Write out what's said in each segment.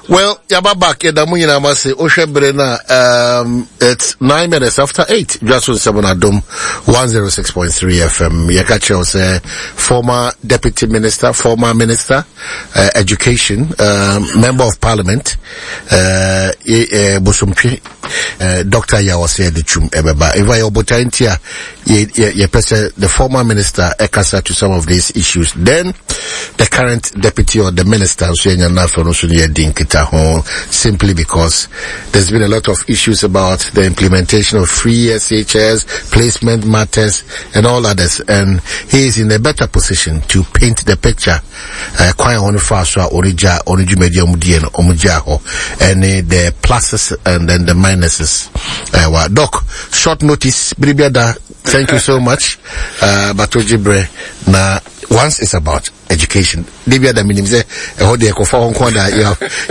Well, yaba back yɛda mo nyinaa mo ase. Wohwɛ bere no a, it's 8:09. Dwa so nsɛm no Adom 106.3 FM. Yɛka kyerɛ wo sɛ former deputy minister, former minister, education, member of parliament, Bosomtwe, Doctor Yaw Osei Adutwum ɛbɛba. In fact, yɛwɔ botae nti a yɛpɛ sɛ the former minister ɛkasa to some of these issues. Then the current deputy or the minister nso yɛnya no afei no nso no yɛdi nkitaho simply because there's been a lot of issues about the implementation of free SHS, placement matters and all others, and he is in a better position to paint the picture. Kwan a wɔn fa so a wɔn gya wɔn dwumadi a wɔn die no wɔn gya hɔ ɛne the pluses and then the minuses. Wa doc, short notice biribi ada, thank you so much. But ogye brɛ na once it's about education debi ada minim sɛ ɛhɔ deɛ ɛkɔfa hɔ nko da,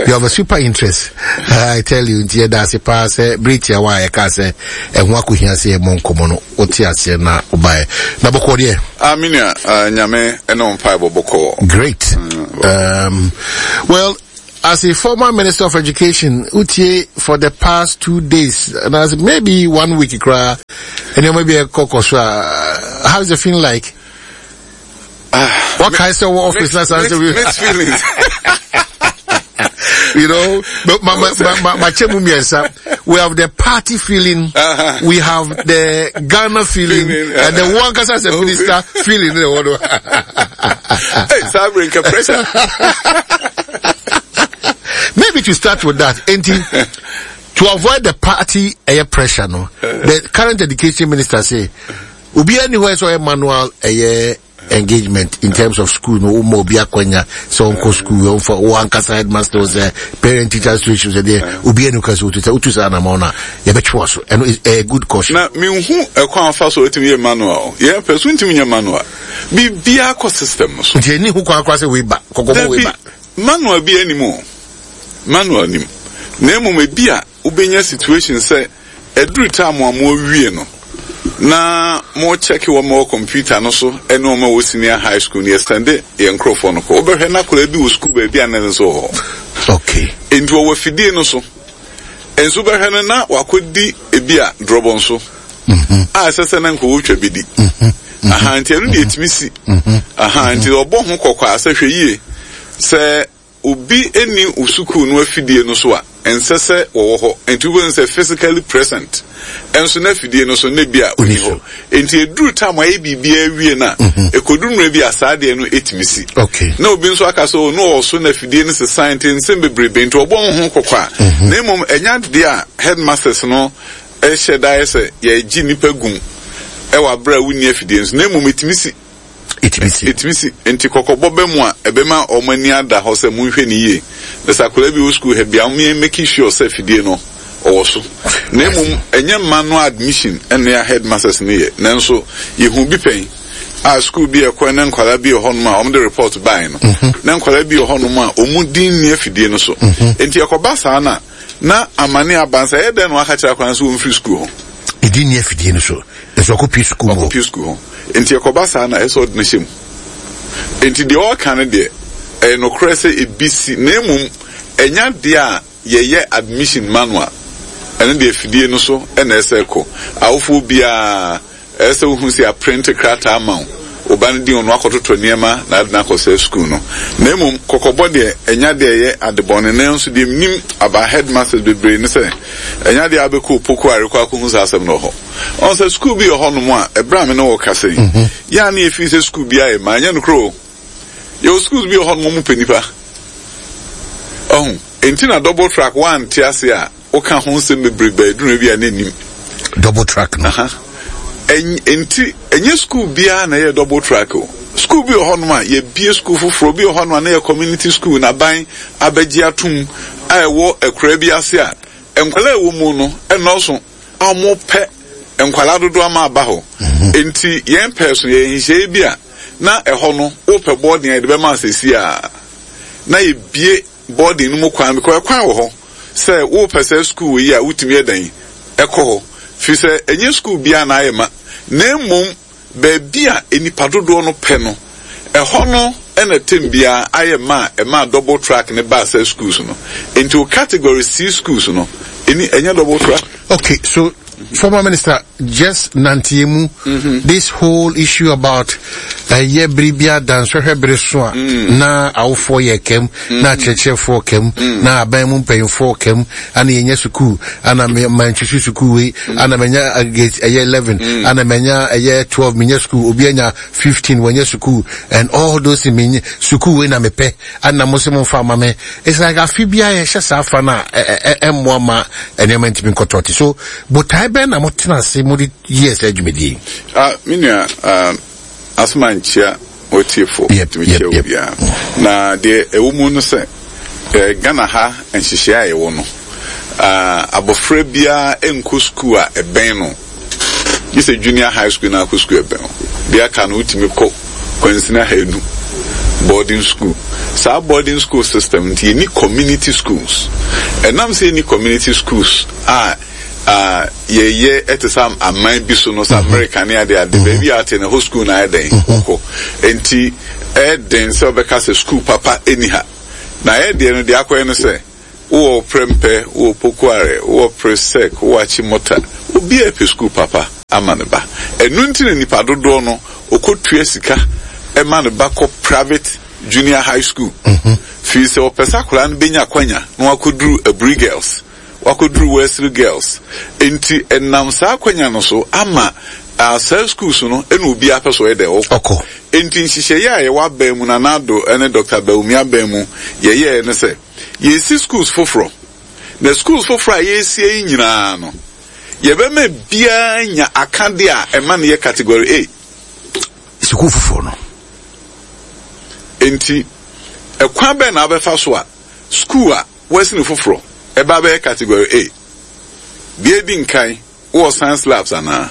you have a super interest, I tell you. Nti yɛda ase paa sɛ bere tiawa a yɛka sɛ ɛho akɔhia sɛ yɛmmɔ nkɔmmɔ no wote aseɛ na wobaeɛ na bɔkɔɔ deɛ. Ah, me nua, Nyame ɛne wo mpaebɔ bɔkɔɔ. Great. Well, as a former minister of education, utie for the past 2 days, and as maybe one week, and then maybe a so, how's it feeling like? What kind of office? Mixed, mixed feelings. But my, my, we have the party feeling, we have the Ghana feeling, and the one as a minister feeling. Hey, sorry, pressure. Maybe to start with that, to avoid the party air pressure, no, the current education minister say, obi anywhere so a manual a engagement in terms of school no wo obi akwanya sɛ ɔnkɔ school, ɔmfa wo ankasa headmaster sɛ parent teacher association sɛ deɛ obi ani ka sɛ wotu sɛ wotu saa anamɔ no a yɛbɛtwe wɔ so. Ɛno is a good caution. Na menhu ɛkwan afa so ɛtumi yɛ manual. Yɛn pɛ so ntumi nyɛ manual, biribiara kɔ system no so. Nti ɛni ho kwan koraa sɛ wei ba kɔkɔbɔ wei ba. Manual bi anim o, manual nim, na mmom ebi a wobɛnya situation sɛ ɛduru time a mo awie no na mo check wɔn a wɔ computer no so ɛne wɔn a wɔ senior high school no, yɛsɛnde yɛn nkurɔfoɔ no kɔ, wobɛhwɛ na akwadaa bi wɔ school baabi a ne nso wɔ hɔ. Nti wɔwɔ afidie no so nso bɛhwɛ no na wakɔdi ebi a drɔbɔ nso a ɛsɛ sɛ na nka wɔtwa bi di aha. Nti ɛno deɛ ɛtumi si aha. Nti ɔbɔ ho kɔkɔ a sɛ hwɛ yie sɛ obi ni wo sukuu no afidie no so a ɛnsɛ sɛ wɔwɔ hɔ. Nti wobɛhu sɛ physically present ɛnso na afidie no so na bi a ɔni hɔ. Nti ɛduru time a ɛyɛ biribiara awie no a ɛkɔduru mmerɛ bi a saa deɛ no ɛtumi si na obi nso aka sɛ oh, no ɔwɔ so na afidie no sesan. Nti nsɛm bebrebe nti ɔbɔ ho kɔkɔ a na mmom ɛnya deɛ a headmasters no ɛhyɛ da yɛ sɛ yɛgye nnipa gum ɛwɔ aberɛ a wonni afidie no so, na mmom ɛtumi si. Ɛtumi si. Ɛtumi si. Nti kɔkɔbɔ bɛ mu a ɛbɛma wɔn ani ada hɔ sɛ monhwɛ ne yie na sɛ akwadaa bi wɔ sukuu ha bia wɔn make sure sɛ afidie no ɔwɔ so. Na mmom ɛnyɛ mma no admission ɛne a headmasters no yɛ, nanso yɛhu bi pɛn a sukuu bi ɛkɔ ne nkwadaa bi wɔ hɔnom a wɔn de report bae no na nkwadaa bi wɔ hɔnom a wɔn din nni afidie no so. Nti ɛkɔba saa na amane aba nsa ɛyɛ dɛn na waka kyerɛ akwadaa nso wɔn firi sukuu hɔ. Ɛdi nni afidie no so nso ɔkɔ sukuu mu. Ɔkɔ sukuu hɔ. Nti ɛkɔba saa na ɛsɛ ɔde no hyɛ mu. Nti deɛ ɔreka no deɛ ɛyɛ nokorɛ sɛ ebi si, na mmom ɛnya deɛ a yɛyɛ admission manual, ɛno deɛ afidie no so ɛna ɛsɛ kɔ. Awofoɔ biara ɛsɛ sɛ wohu sɛ aprint krataa ama wo wo ba no din, ɔno akɔtotɔ nneɛma na ade no akɔ sɛ sukuu no. Na mmom kɔkɔbɔ deɛ ɛnya deɛ ɛyɛ adebɔne. Nanso deɛ menim about headmasters bebree ne sɛ ɛnya deɛ abɛkɔ Opoku arekɔ akɔhu saa asɛm no wɔ hɔ. Ɔn sɛ sukuu bi wɔ hɔnom a ɛberɛ a me ne wo kasa yi yɛ a ne yɛfii sɛ sukuu bi ayɛ ma ɛnyɛ nokorɛ o. Yɛwɔ schools bi wɔ hɔnom ɔmo pɛ nipa. Ɔho enti na double track wante ase a woka ho nsɛm bebrebe a ɛduru bi a na nnim. Double track no. Enti ɛnyɛ school biara na ɛyɛ double track o. School bi wɔ hɔnom a yɛbie school foforɔ bi wɔ hɔnom a na yɛ community school na ban abɛgye atom a ɛwɔ akuraa bi ase a nkwadaa a ɛwɔ mu no ɛnɔɔso a wɔpɛ nkwadaa dodoɔ ama aba hɔ. Enti yɛn pɛɛ so yɛ nhyehyɛeɛ bi a na ɛhɔ no wopɛ boarding a yɛde bɛma asɛsi a na yɛbie boarding no mu kwan, because ɛkwan wɔ hɔ sɛ wopɛ sɛ school yi a wotumi yɛ dɛn ɛkɔ hɔ, firi sɛ ɛnyɛ school biara na ayɛ ma, na mmom baabi a nnipa dodoɔ no pɛ no ɛhɔ no. na term biara ayɛ ma a ɛmaa double track no baa saa schools no. Enti wo category C schools no, ɛni, ɛnyɛ double track. Okay, so former minister just nanteɛ mu mm-hmm. this whole issue about ɛyɛ eh, bere bi adansɔhwɛ bere so a mm. na awofoɔ yɛ kɛm mm. na akyerɛkyerɛfoɔ kɛm mm. na aban mu mpanyinfoɔ kɛm ana yɛnya sukuu ana mantwisi sukuu wei ana manya eh, ɛyɛ 11 ana manya ɛyɛ 12 menya sukuu obi anya 15 wanya sukuu and all those things menye sukuu wei na mepɛ ana mo sɛ momfa ama me. It's like afe biara yɛhyɛ saa fa no a ɛmmoa ma nneɛma ntumi nkɔtɔ te so. Botae bɛn na motena ase mode yɛɛ saa dwumadie yi? Ah, me nua, ah, asoma nkyia w'atiefo, tumi kyia obiara. Na deɛ ɛwɔ mu no sɛ, eh, Ghana ha nhyehyɛe a yɛwɔ no, ah, abɔfra biara nkɔ sukuu a ɛbɛn no. Gye sɛ junior high school na akɔ sukuu ɛbɛn wo. Deɛ aka no wotumi kɔ kwansini ahanu boarding school. Saa boarding school system nti yɛnni community schools. Ɛnam sɛ yɛnni community schools a a yɛyɛ ɛte sɛ aman bi so no sɛ America ne ade ade baabi a ate no hɔ school na ayɛ dɛn wokɔ. Nti ɛyɛ den sɛ wobɛka sɛ school papa ɛni ha. Na yɛ deɛ no deɛ akɔyɛ no sɛ Wowɔ Prempeh, wowɔ Pokuare, wowɔ Presec, wowɔ Achimota, obiara pɛ sukuu papa ama ne ba. Ɛno nti na nnipa dodoɔ no ɔkɔtua sika ma ne ba kɔ private junior high school. Firi sɛ ɔpɛ sɛ akwadaa no bɛnya akwanya na wakɔduru Aburi Girls, wakɔduru Wesley Girls. Enti ɛnam saa akwanya no so ama saa schools no na obiara pɛ sɛ ɔyɛ dɛn? Ɔkɔ. Enti nhyehyɛeɛ a yɛwɔ aban mu, Nana Addo ne Doctor Bawumia aban mu yɛyɛeɛ ne sɛ, Yɛresi schools foforɔ, na schools foforɔ a yɛresie yi nyinaa no, yɛbɛma biara anya akadeɛ a ɛma no yɛ category A. Sukuu foforɔ no. Enti, ɛkwan bɛn na wobɛfa so a sukuu a wɔasi no foforɔ ɛba abɛyɛ category A? Deɛ ɛdi nkan, Wowɔ science labs anaa?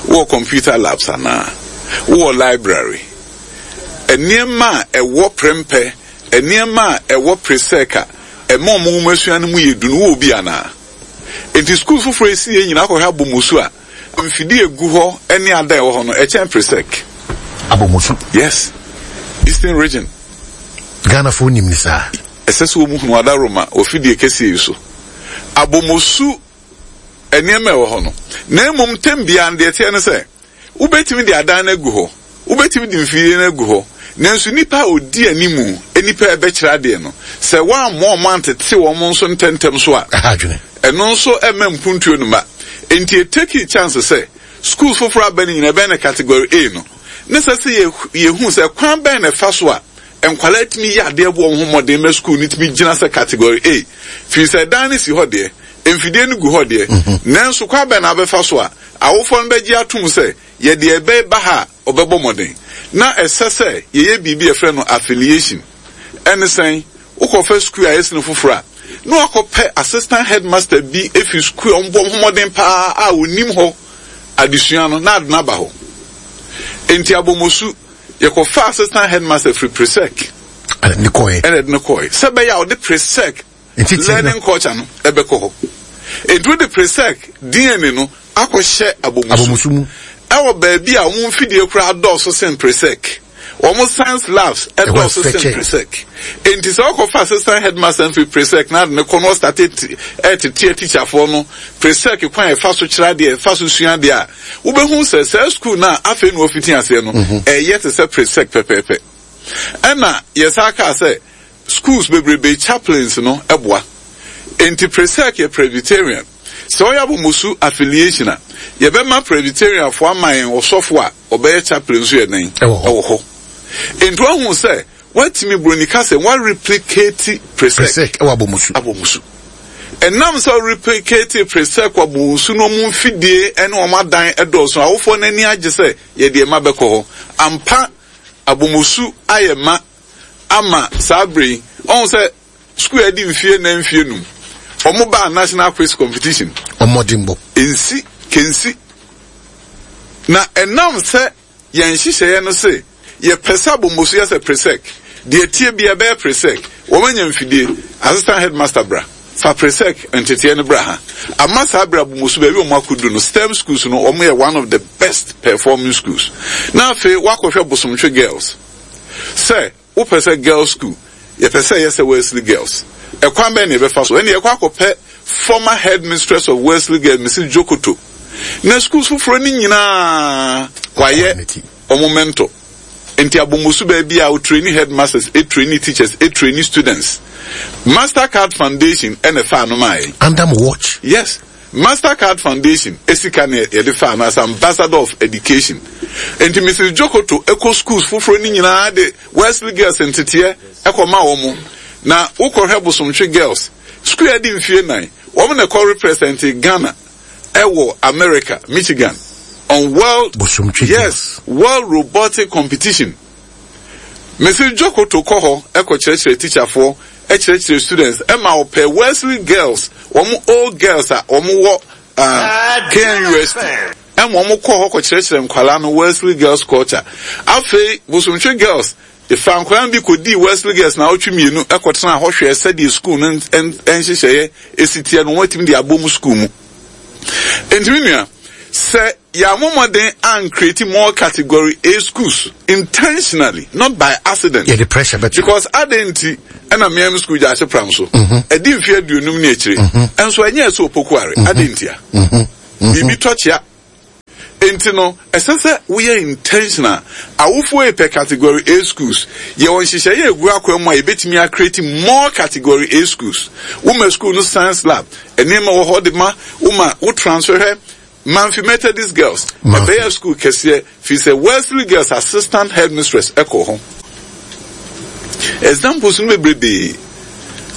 Wowɔ computer labs anaa? Wowɔ library? Nneɛma a ɛwɔ Prempeh, nneɛma a ɛwɔ Presec a ɛma wɔn nwomasua no mu yɛ du no, wowɔ bi anaa? Enti sukuu foforɔ a ɛsi yɛn nyinaa akɔhwɛ Abomosu a, mfidie a ɛgu hɔ ne adan a ɛwɔ hɔ no, ɛkyɛn Presec. Abomosu? Yes. Eastern Region. Ghanafoɔ nim no saa? Ɛsɛ sɛ wɔhunu Adaworoma wɔ fidie kɛseɛ yi so. Abomosu nneɛma a ɛwɔ hɔ no, na mmom tɛm biara no, deɛ ɛteɛ ne sɛ, wobɛtumi de adan no agu hɔ, wobɛtumi de mfidie no agu hɔ, nanso nnipa a ɔdi animu, nnipa a ɛbɛkyerɛ adeɛ no, sɛ woammɔ wɔn antete wɔn nso ntɛmntɛm so a, ɛno nso mma mpuntuo no mma. Enti ɛtekii chance sɛ schools foforɔ aba no nyinaa ɛbɛyɛ no category A no, na ɛsɛ sɛ yɛhu sɛ kwan bɛn na ɛfa so a nkwadaa tumi yɛ adeɛ bɔ wɔn ho mmɔden ma sukuu no tumi gyina sɛ category A, firi sɛ dan no si hɔ deɛ, mfidie no gu hɔ deɛ, nanso kwan bɛn na wobɛfa so a awofoɔ no bɛgye atom sɛ yɛde ɛbɛ ba ha a ɔbɛbɔ mmɔden? Na ɛsɛ sɛ yɛyɛ biribi a yɛfrɛ no affiliation. Ɛne sɛn? Wokɔfa sukuu a ɛsene foforɔ a, na wakɔpɛ assistant headmaster bi fi sukuu a wɔbɔ wɔn ho mmɔden paa a ɔnim hɔ adesua no na ade no aba hɔ. Enti Abomosu, yɛkɔfaa assistant headmaster firi Presec ɛna de kɔɛ. Ɛna de no kɔɛ sɛ ɛbɛyɛ a ɔde Presec learning culture no ɛbɛkɔ hɔ. Enti wode Presec DNA no akɔhyɛ Abomosu mu ɛwɔ baabi a wɔn mfidie koraa dɔɔso sen Presec. Wɔn science labs ɛdɔɔso sen Presec. Enti sɛ ɔkɔfa assistant headmaster mfiri Presec na ade no kɔ na ɔstate ɛtete atikyafoɔ no Presec kwan a ɛfa so kyerɛ adeɛ, ɛfa so sua adeɛ a, wobɛhu sɛ saa sukuu no a afei na wɔafiti aseɛ no, ɛyɛ te sɛ Presec pɛpɛɛpɛ. Ɛna yɛsan kaa sɛ schools bebrebe chaplains no boa. Enti Presec yɛ Presbyterian. Sɛ ɔyɛ Abomosu affiliation a, yɛbɛma Presbyterianfoɔ ama yɛn ɔsɔfo a ɔbɛyɛ chaplain nso yɛ dɛn? Ɛwɔ hɔ. Enti woahu sɛ woatumi, Buroni ka sɛ, woareplicate Presec. Presec ɛwɔ Abomosu. Abomosu. Ɛnam sɛ woreplicate Presec wɔ Abomosu no wɔn mfidie ne wɔn adan dɔɔso, awofoɔ no ani agye sɛ yɛde yɛn mma bɛkɔ hɔ. Ampa, Abomosu ayɛ ma ama saa bere yi. Ɔhu sɛ sukuu a adi mfie nnan mfie num, wɔn baa national quiz competition. Ɔmmɔdenbɔ. Nsi, kensi. Na ɛnam sɛ yɛn nhyehyɛeɛ no se yɛpɛ sɛ Abomosu yɛ sɛ Presec, deɛ ɛteɛ biara ɛbɛyɛ Presec, wɔn anya mfidie, assistant headmaster bra. Fa Presec nteteɛ no bra ha. Ama saa berɛ Abomosu baabi a wɔn akɔduru no, STEM schools no wɔn yɛ one of the best performing schools. Na afei woakɔhwɛ Bosomtwe Girls. Sɛ wopɛ sɛ girls school, yɛpɛ sɛ ɛyɛ sɛ Wesley Girls. Ɛkwan bɛn na yɛbɛfa so? Ɛnde yɛkɔ akɔpɛ former headmistress of Wesley Girls, Mrs. Jokoto. Na schools foforɔ no nyinaa wayɛ wɔn mentor. Nti Abomosu baabi a ɔtraini headmasters, ɛtraini teachers, ɛtraini students. Mastercard Foundation ɛna ɛfaa no maa yɛn. Under mo watch? Yes. Mastercard Foundation sika na yɛde faa no as ambassador of education. Enti Mrs. Jokoto kɔ schools foforɔ no nyinaa de Wesley Girls nteteɛ kɔ ma wɔn. Na wokɔhwɛ Bosomtwe Girls, school a adi mfie nan, wɔn na ɛkɔ represente Ghana ɛwɔ America, Michigan, on World, Bosomtwe yes, World Robotic Competition. Mrs. Jokoto kɔ hɔ kɔ kyerɛkyerɛ tikyafoɔ, kyerɛkyerɛ students, ɛma ɔpɛ Wesley Girls, wɔn old girls a wɔn wɔ uh, KNUST, ɛma wɔn kɔ hɔ kɔ kyerɛkyerɛ nkwadaa no Wesley Girls culture. Afei Bosomtwe Girls, efa nkwadaa no bi kɔ dii Wesley Girls na awotwe mmienu kɔ tena hɔ hwɛɛ sɛdeɛ sukuu no nhyehyɛeɛ esi teɛ no wɔn atumi de abɔ mu sukuu mu. Enti me nua, sɛ Yɛammɔ mmɔden an create more category A schools intentionally, not by accident. Yɛde pressure bɛto. Because adɛn nti ɛna mmea mi school gyaase pram so. Ɛdi mfe aduonum ne akyire. Nso ɛnyɛ ɛsɛ opokuare. Adɛn ntia? Biribi tɔ kyea. Enti no, ɛsɛ sɛ woyɛ intentional. Awofoɔ pɛ category A schools. Yɛwɔ nhyehyɛeɛ a ɛgu akwan mu a yɛbɛtumi a create more category A schools. Woma school no science lab, nneɛma wɔ hɔ de ma, woma wo transfer hwɛ Mamfi Methodist Girls ɛbɛyɛɛ sukuu kɛseɛ firi sɛ Wesley Girls assistant headmistress kɔɔ hɔ. Examples no bebrebee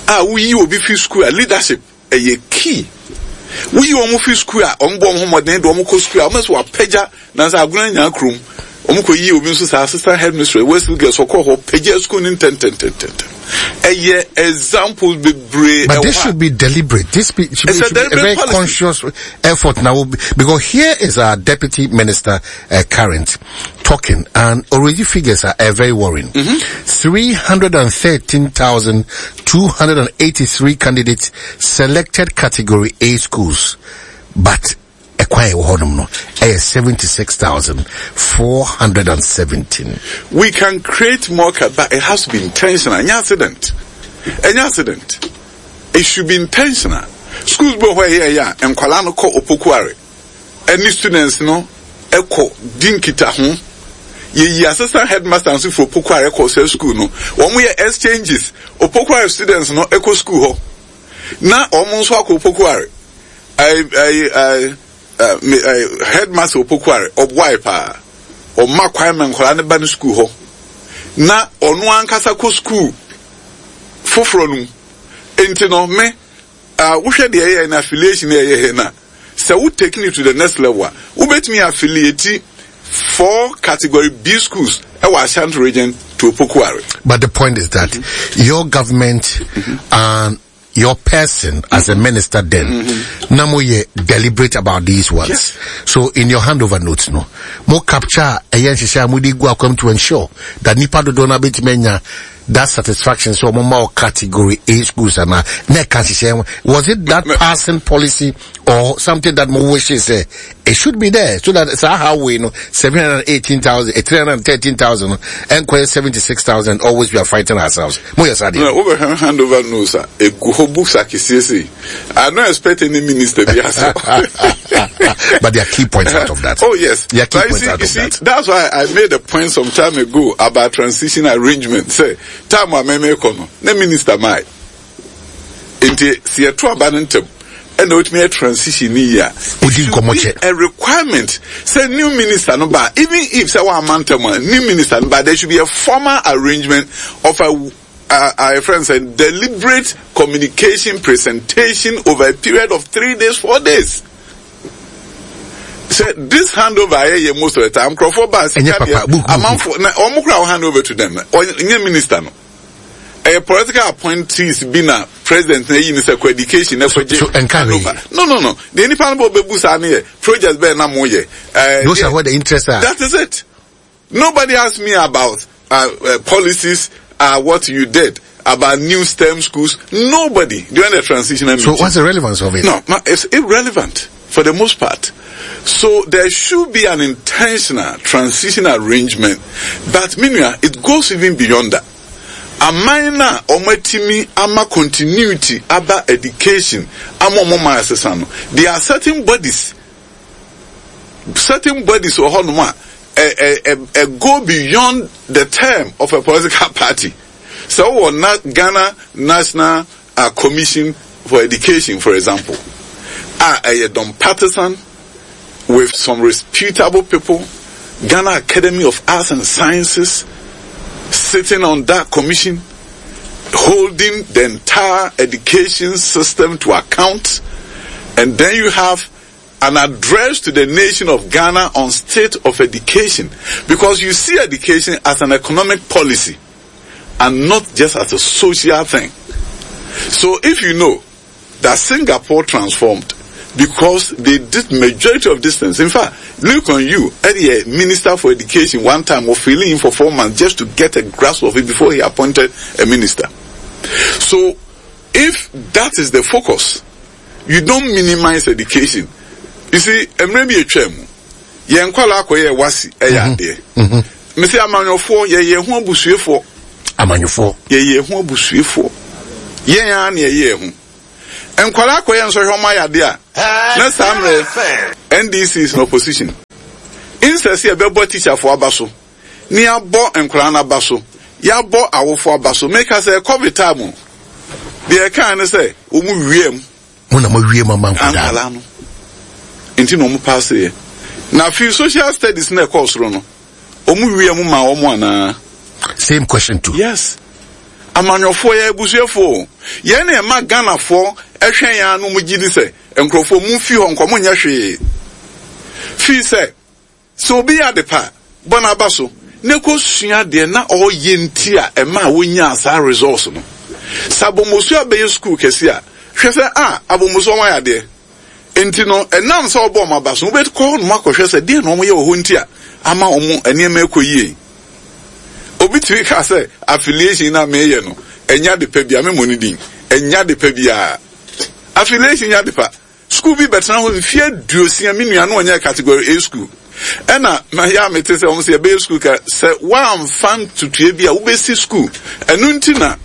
a woyi obi fi sukuu a leadership ɛyɛ key. Woyi wɔn fi sukuu a wɔn bɔ wɔn ho mmɔden de wɔn kɔ sukuu a wɔn nso wɔapagya nanso agona nyaa kurom. Wɔn kɔ yi obi nso saa assistant headmistress Wesley Girls ɔkɔɔ hɔ pagya sukuu no ntɛntɛntɛntɛm. Ɛyɛ examples bebree. But this should be deliberate. This be, should, be, should be a very policy. Conscious effort now. Because here is our deputy minister current talking, and already figures are very worrying. 313,283 candidates selected category A schools, but ɛkwan a ɛwɔ hɔnom no ɛyɛ 76,417. We can create more but it has to be intentional. Ɛnyɛ accident. Ɛnyɛ accident. It should be intentional. Schools bi wɔ hɔ a ɛyɛ ɛyɛ a nkwadaa no kɔ opokuare ɛne students no ɛkɔ di nkitaho. Yɛyi assistant headmaster nso firi opokuare kɔ saa school no. Wɔn yɛ exchanges. Opokuare students no ɛkɔ school hɔ na wɔn nso akɔ opokuare. Ɛɛ ɛɛ ɛɛ headmaster Opokuare ɔboae paa. Ɔma kwan ma nkwadaa no ba ne sukuu hɔ na ɔno ankasa kɔ sukuu foforɔ no mu. Nti no me wohwɛ deɛ ɛyɛ no affiliation a ɛyɛ hɛ no a, sɛ wo taking it to the next level a, wobɛtumi affiliate four category B schools ɛwɔ Ashanti region to Opokuare. But the point is that your government and your person as a minister then na mo yɛ deliberate about these ones. Yes. So in your handover notes no, mo capture ɛyɛ nhyehyɛ a mo de gu akwam to ensure that nipa dodoɔ no abɛtumi anya that satisfaction sɛ ɔmo ma category A schools ana na ɛka nhyehyɛ ho. Was it that passing policy or something that mo wishes sɛ it should be there so that saa how we no 718,000, 313,000 ɛnkɔyɛ 76,000 always we are fighting ourselves. Mo yɛ saa deɛ. Na wobɛhwɛ handover notes a egu hɔ books akɛseɛ sei. I don't expect any minister bi ase. But there are key points out of that. Oh yes. There are key But you points see, out you of see, that. That's why I made a point some time ago about transition arrangement. Sɛ time a mɛmɛ kɔ no, na minister mae. Nti sɛ yɛto aba no ntɛm ɛna otumi yɛ transition ni yie a, Odi it should nkɔmmɔ be kyɛ. a requirement sɛ new minister no ba, even if sɛ wamma ntɛm a, new minister no ba, there should be a formal arrangement of a a friend said deliberate communication presentation over a period of 3 days, 4 days. Sɛ this handover ayɛ yɛ most of the time, nkurɔfoɔ ba sika Ɛnyɛ papa, deɛ book, book, amanfoɔ na wɔn kora wɔn hand over to them, ɔnyɛ minister no. Ɛyɛ political appointees bi na president na eyi ne sɛ kɔ education na kɔ gye So, ɛnka hwee. handover. No, no, no. Deɛ nipa no bɔ bɛbu saa no yɛ project bɛɛ na mo yɛ. Those are where the interests are. That is it. Nobody asked me about policies, what you did, about new STEM schools. Nobody during the transitional So meeting. what's the relevance of it? No, ma, it's irrelevant for the most part. So there should be an intentional transition arrangement but me nua it goes even beyond that. Aman no a wɔatumi ama continuity aba education ama wɔn man asesa no, there are certain bodies certain bodies wɔ hɔnom a ɛ ɛ ɛ ɛ go beyond the term of a political party. Sɛ wowɔ na Ghana National uh, Commission for Education for example, a ɛyɛ non-partisan with some reputable people, Ghana Academy of Arts and Sciences sitting on that commission, holding the entire education system to account, and then you have an address to the nation of Ghana on state of education because you see education as an economic policy and not just as a social thing. So if you know that Singapore transformed because they did majority of distance. In fact, Lee Kuan Yew, a minister for education, one time was filling in for four months just to get a grasp of it before he appointed a minister. So if that is the focus, you don't minimize education. You see, mmerɛ bi atwa mu, yɛn nkwadaa akɔyɛ wasi ɛyɛ mhm. adeɛ. Mhm. Mese amanyɔfoɔ yɛyɛ ho abusuefoɔ. Amanyɔfoɔ. Yɛyɛ ho abusuefoɔ. Yɛn ara na yɛyɛ ho. Nkwadaa akɔyɛ nsɔhwɛ ɔmo ayɛ adeɛ a, na saa mmerɛ NDC is in opposition. Insɛ sɛ yɛbɛbɔ teacherfoɔ aba so, ne yɛabɔ nkwadaa no aba so, yɛabɔ awofoɔ aba so. Meka sɛ COVID time o, deɛ ɛkaa ne sɛ wɔn wia mu. Mo na mo wie mu ama nkwadaa no. Nti na wɔn paase yɛ. Na afei social studies na ɛkɔɔ soro no, wɔn wia mu maa wɔn anaa? Same question too. Yes. Amanyɔfoɔ yɛ abusuafoɔ o. Yɛn na ɛma Ghanafoɔ ɛhwɛ yɛn ano mo gye di sɛ nkurɔfoɔ mo fi hɔ nkɔ mo nyɛ hwee. Fii sɛ Sɛ obi yɛ ade pa a, bɔ n'aba so na kosua deɛ na ɔreyɛ nti a ɛmaa wonyaa saa results no. Sɛ Abomosu abɛyɛ sukuu kɛse a, hwɛ sɛ ah, Abomosu wɔayɛ adeɛ. Nti no, ɛnam sɛ wɔbɔ wɔn aba so no, wobɛkɔ hɔnom akɔhwɛ sɛ deɛn na wɔyɛ wɔ hɔ nti a ama wɔn nneɛma rekɔ yie. Obi tumi ka sɛ affiliation no a meyɛ no, ɛnyɛ ade pa biara, memmɔ ne din, ɛnyɛ ade pa biara. Affiliation nyɛ ade pa. Sukuu bi bɛtena hɔ mfeɛ aduosia me nua no ɔnyɛ category A sukuu ɛna na yɛ a mete sɛ wɔn sɛ yɛbɛyɛ sukuu ka sɛ woamfa ntutuɛ bi a wobɛsi sukuu ɛno nti na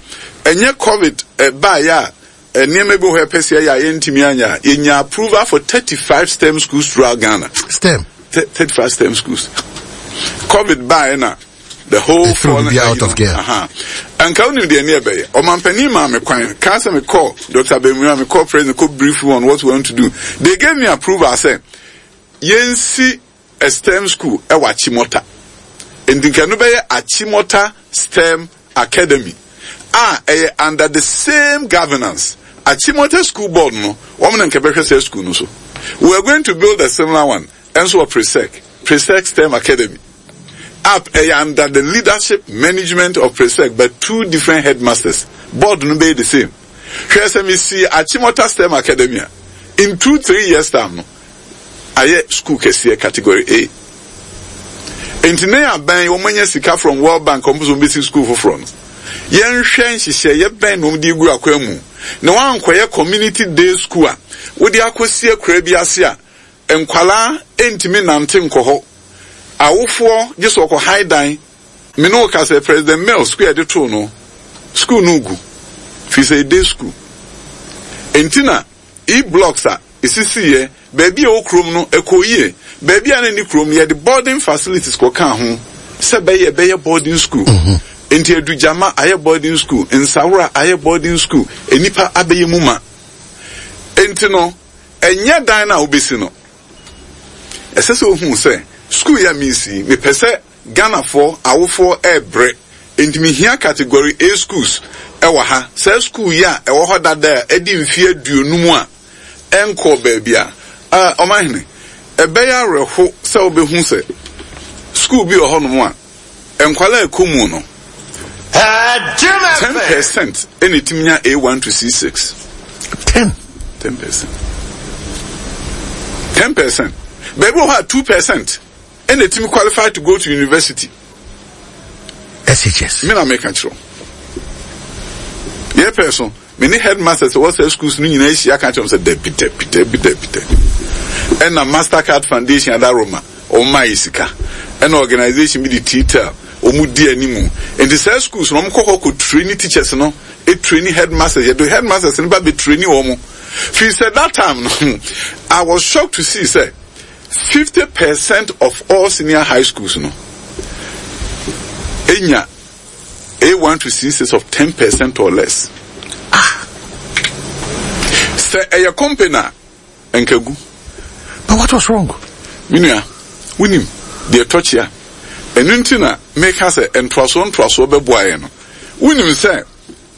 ɛnyɛ covid ɛbaeɛ a nneɛma bi wɔ hɔ ɛpɛ sɛ yɛyɛ a yɛntumi anyɛ a yɛnya approval for 35 STEM schools throughout Ghana. STEM. 35 STEM schools. COVID baeɛ na the whole foreign be out of gear. Uh-huh. Anka wonim deɛ ne ɛbɛyɛ. Ɔmampanin maa me kwan. Kaa sɛ mekɔ Dr. Bemua, mekɔ president, kɔ brief on what we want to do. They gave me approval sɛ yɛnsi a STEM school ɛwɔ Achimota. Nti nka no bɛyɛ Achimota STEM Academy a ɛyɛ under the same governance. Achimota School Board no, wɔn na nka bɛhwɛ saa school no so. We are going to build a similar one ɛnso wɔ Presec, Presec STEM Academy. App ɛyɛ under the leadership management of Presec but two different headmasters. Board no bɛyɛ the same. Hwɛ sɛ mesi Achimota STEM Academy a, in 2, 3 years time no, ayɛ school kɛseɛ category A. Nti ne aban wɔn anya sika from World Bank wɔn nso bɛsi school foforɔ no. Yɛnhwɛ nhyehyɛeɛ bɛn na wɔn de gu akwan mu na wɔankɔyɛ community day school a wɔde akɔsi akura bi ase a Nkwadaa ntumi nnante nkɔ hɔ. Awofoɔ gye sɛ wɔkɔ han dan. Me ne wo ka sɛ President Mills sukuu a yɛde too no, sukuu no regu firi sɛ ɛyɛ day school. Enti na E-blocks a ɛsisiiɛ baabi a ɛwɔ kurom no, ɛkɔɔ yie. Baabi a na ɛnni kurom no, yɛde boarding facilities kɔkaa ho sɛ ɛbɛyɛ ɛbɛyɛ boarding school. Enti Adugyama ayɛ boarding school, Nsawora ayɛ boarding school, nnipa abɛyɛ mu ma. Enti no, Ɛnyɛ dan no a wobesi no. Ɛsɛ sɛ wohu sɛ sukuu yi a meresi yi, mepɛ sɛ Ghanafoɔ awofoɔ rebrɛ, enti mehia Category A schools wɔ ha. Saa sukuu yi a ɛwɔ hɔ dada a adi mfeɛ 50 a ɛnkɔɔ baabi a, ah, Ɔmanhene, ɛbɛyɛ awerɛho sɛ wobɛhu sɛ sukuu bi wɔ hɔnom a, Nkwadaa a ɛkɔ mu no, 10% na ɛtumi nya A1 to C6. 10? 10%. 10%. Baabi wɔ hɔ a 2% na ɛtumi qualify to go to university. SHS. Me na meka kyerɛ. Yɛpɛ so. Me ne headmasters a ɛwɔ saa schools no nyinaa ahyia aka akyerɛ wɔn sɛ dabi, dabi, dabi, dabi, dabi. Ɛna Mastercard Foundation adaworoma, wɔn maa yɛ sika. Ɛna organization bi de T-Tel, wɔn di animu. Nti saa schools no, wɔn kɔ hɔ kɔ traini teachers no, traini headmasters, yɛde headmasters no ba bɛ traini wɔn. Firi sɛ that time no, I was shocked to see sɛ 50% of all senior high schools no, enya A1 to C6 of 10% or less. Ah! Sɛ ɛyɛ company a, nka gu. But what was wrong? Me nua, wonim deɛ ɛtɔ kyea. Ɛno nti na meka sɛ ntoasoɔ ntoasoɔ bɛboa yɛn no. Wonim sɛ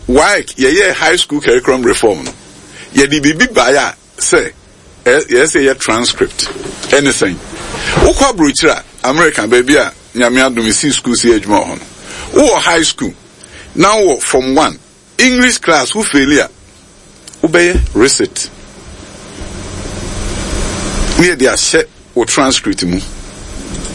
WAEC yɛyɛɛ high school curriculum reform no, yɛde biribi baeɛ a Sɛ yɛyɛ sɛ yɛyɛ transcript ɛne sɛn? Wokɔ aburokyire a, America baabi a Nyame adom mesii school sɛ yɛ adwuma wɔ hɔ no, wowɔ high school na wowɔ form one English class wo faili a, wobɛyɛ recit ne yɛde ahyɛ wo transcript mu.